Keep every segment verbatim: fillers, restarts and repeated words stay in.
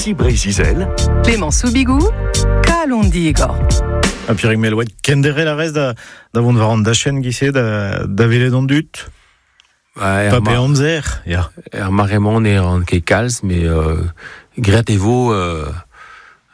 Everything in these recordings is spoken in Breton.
Ici Breiz-Izel. Clément Soubigou, Kalon Digor. Ha Pierrick Melouet, kendere la rez da, da vont war an dachen gise da, da velet an dut. Ba, Pa pe amzer, ya. Er maremont e an ket kalz, me euh, gret e vo, euh,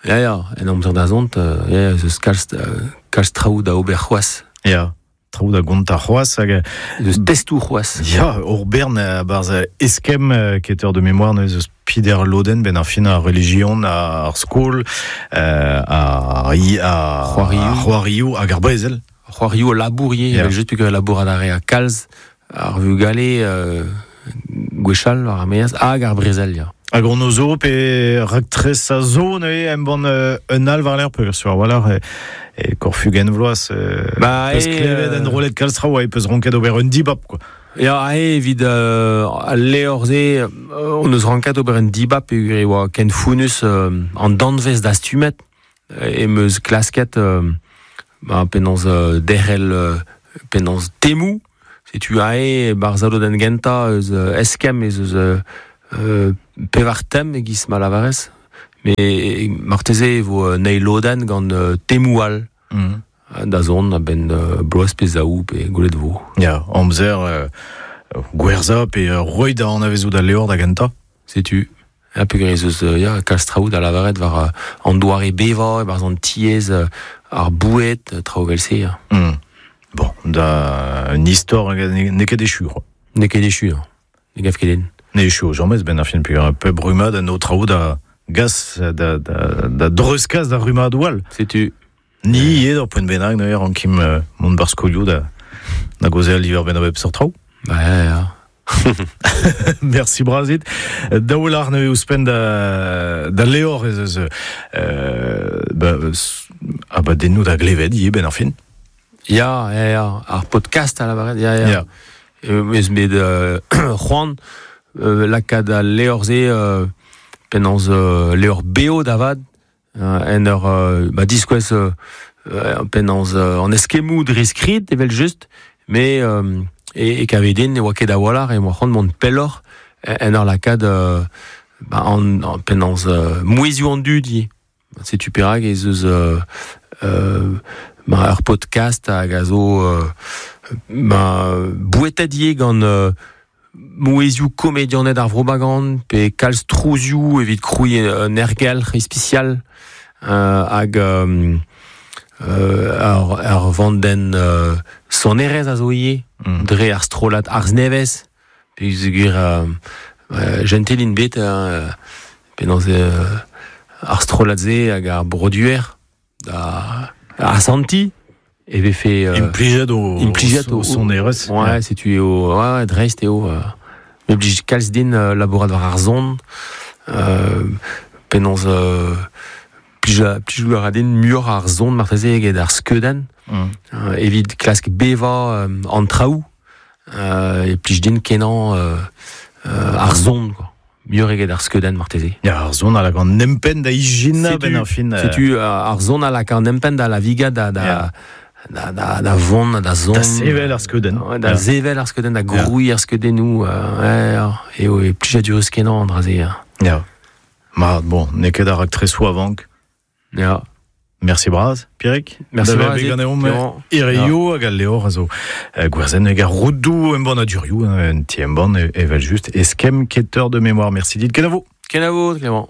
ya, ya, en amzer da zont, euh, ya, ya, zeus kalz, euh, kalz traoù da ober c'hoaz. Ya, traoù da gonta c'hoaz hag... Zeus testou c'hoaz. Ya, ur bern a-barz eskem ket eur de mémoire neuze eus pider loden ben ar fin ar religion, ar skol, euh, ar, ar, c'hoarioù hag ar brezel. C'hoarioù labour ivez, yeah. Just peogwir labour ad ar kalz, ar vugale euh, gwechall war ar meaz hag ar brezel, ya. Hag on ozo pe raktres a zo neuze embann un al war l'air peogwir sur war e, e korfugen vloaz euh, bah, peus e, klevet en rolet kalz traoù e peus ranket ober un dibab quoi. Ya, e evit euh, al levr-se euh, on eus ranket ober un dibab peogwir e oa ken founus euh, an danvez dastumet e meus klasket euh, ba, penaos euh, derc'hel euh, penaos temou. Setu ae barzhalo den genta eus eskemm ez eus euh, pevar tem e-giz ma lavarez. Me marteze e vo neil lodenn gant euh, temou all. Mm. Da zont a-benn euh, bloaz pe zaou pe gwelet vo. Ya, amzer euh, gwerza pe euh, roit da anavezout al levr da genta. Setu. Ya, peogwir ez eus ya, kalz traoù da lavaret war euh, an doare bevañ, e-barzh an tiez, euh, ar boued, traoù vel-se. Ya. Mm. Bon, da un istor n'eo ket echu. N'eo ket echu, ne gav ket den. Ne echu jamez ben ar fin peogwir un peu brumad an o traoù da gas, da, da, da dreuzkas da rumad all. Setu. Ni ivez ur poent bennak neuze rankim euh, mont bar skolioù da, da gaozeal diwar benn a bep seurt traoù. Ba, ya, ya. Merci brazit. Daou lar neuze ouzhpenn da, da levr ez eus euh, ba, abadennoù da glevet ivez ben ar fin. Ya, ya, ya, ar podcast a lavaret, ya, ya. Ya. Eus bet euh, c'hoant euh, lakaat al levr-se euh, penaos euh, levr beo da vat, euh, en ur euh, ba, diskouez euh, penaos euh, an eskemmoù dre skrid evel just, mais euh, e, e kavet den ne oa ket a-walc'h e oa c'hoant mont pelloc'h en ur lakaat euh, ba, an, an, penaos euh, mouezhioù an dud ivez. Setu perak ez eus euh, euh, ma ur podcast hag a zo euh, ma bouetet ivez gant euh, mouezhioù komedianed ar vro-Bagan pe kalz trouzioù evit krouiñ un ergelc'h ispisial euh, hag euh, euh, ar, ar vandenn euh, sonerezh a zo ivez mm. dre ar strollad Arz Nevez peogwir euh, euh, gentelin bet euh, penaos euh, ar strollad-se hag ar broduer da asanti e vefe euh, implijet o implijet o sonerezh. Ouais, setu eo ouais, dreist eo euh, me blij kalz din euh, labourat war ar zon euh, penaos euh, plij plij a ra din muioc'h ar zon marteze eget ar skeudenn mm. euh, evit klask bevañ euh, an traoù euh, e plij din kenañ euh, euh, ar zon quoi. Muioc'h eget ar skeudenn marteze. Ya, ar zon a lak an empenn da ijinañ ben ar fin. Setu ar zon a lak an empenn da la viga da, da, yeah. da, da, da vont, da zon. Da sevel ar skeudenn. Ouais, da yeah. sevel ar skeudenn, da grouiñ ar skeudennoù. Euh, ouais, eo e plijadurus kenañ an dra-se. Ya. Ma, bon, n'eo ket ar raktresoù a-vank. Ya. Merci braz, Pierrick. Merci da braz. Ganeomp Irioù hag al levr a zo gwerzenn hag ar roudoù embannadurioù, un ti embann evel just eskemm keteur de mémoire. Merci dit. Kenavo. Kenavo, Clément.